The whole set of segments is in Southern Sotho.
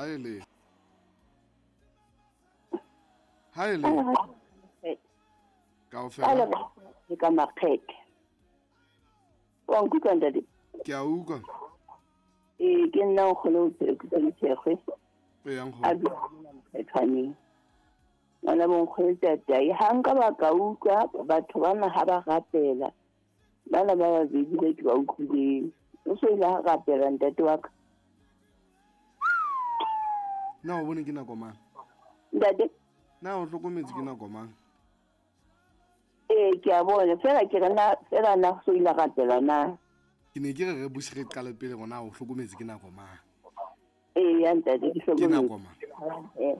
Haele. Haele. Kaofela. Le ka makgethe. Wa nkutlwa ntate? Ke a utlwa. Ee, ke nna nkgono o tshepe Mthekgwe. Ee, nkgono. A dula mona Mokgethwaneng. Ngwana bonkgono tatai, ha nka ba ka utlwa batho bana ha ba rapela. Bana ba babedi ba ke ba utlwileng. O so ile ha rapela ntate wa ka. Na o bone ke nako mang? Ntate? Na o hlokometse ke nako mang? Ee, ke a bona. Fela ke re na, fela na so ile rapela na. Ke ne ke re re buse re qale pele rona o hlokometse ke nako mang? Ee, ya ntate, ke Ke hlokometse. nako mang? Ee.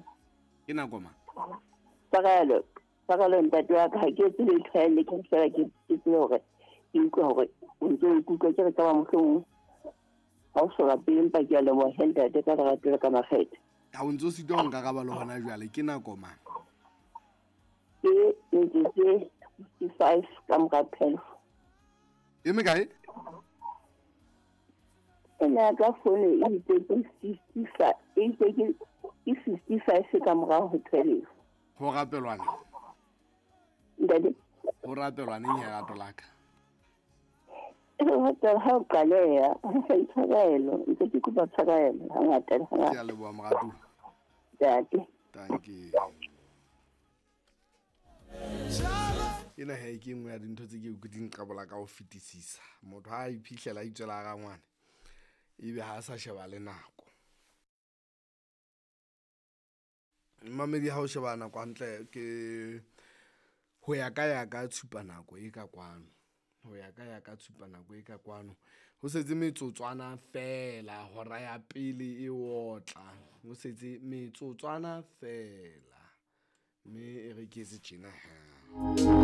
Ke nako mang? Tshwarelo, tshwarelo ntate wa ka, ha ke etse letho ha ele ke fela ke ke tsebe hore ke utlwe hore o ntso o ikutlwa ke re ka ba mohlomong ha o so rapele empa ke a leboha he ntate ka lerato le ka makgethe. Ha o ntso sitwa ho nkaraba le hona jwale, ke nako mang? Ke metsotso e 55 ka mora 12. E mekae? Ena ya ka fono e itse ke 55, e itse ke 55 ka mora ho 12. Ho rapelwana. Ntate. Ho rapelwa neng ya rato la ka? Ho rapela ha o qaleha, tshwarelo, ntse ke kopa tshwarelo hangata le hangata. Ke a leboha moratuwa. Ntate. Thank you. Ena he ke nngwe ya dintho tse ke di nqabola ka ho fetisisa. Motho ha a iphihlela a itswela hara ngwana, ebe ha a sa sheba le nako. Mamedi ha o sheba nako hantle ke ho ya ka ya ka tshupa nako e ka kwano. Ho ya ka ya ka tshupa nako e ka kwano. Ho setse metsotswana fela hora ya pele e otla. Ho setse metsotswana fela. Mme e re ke etse tjena ha.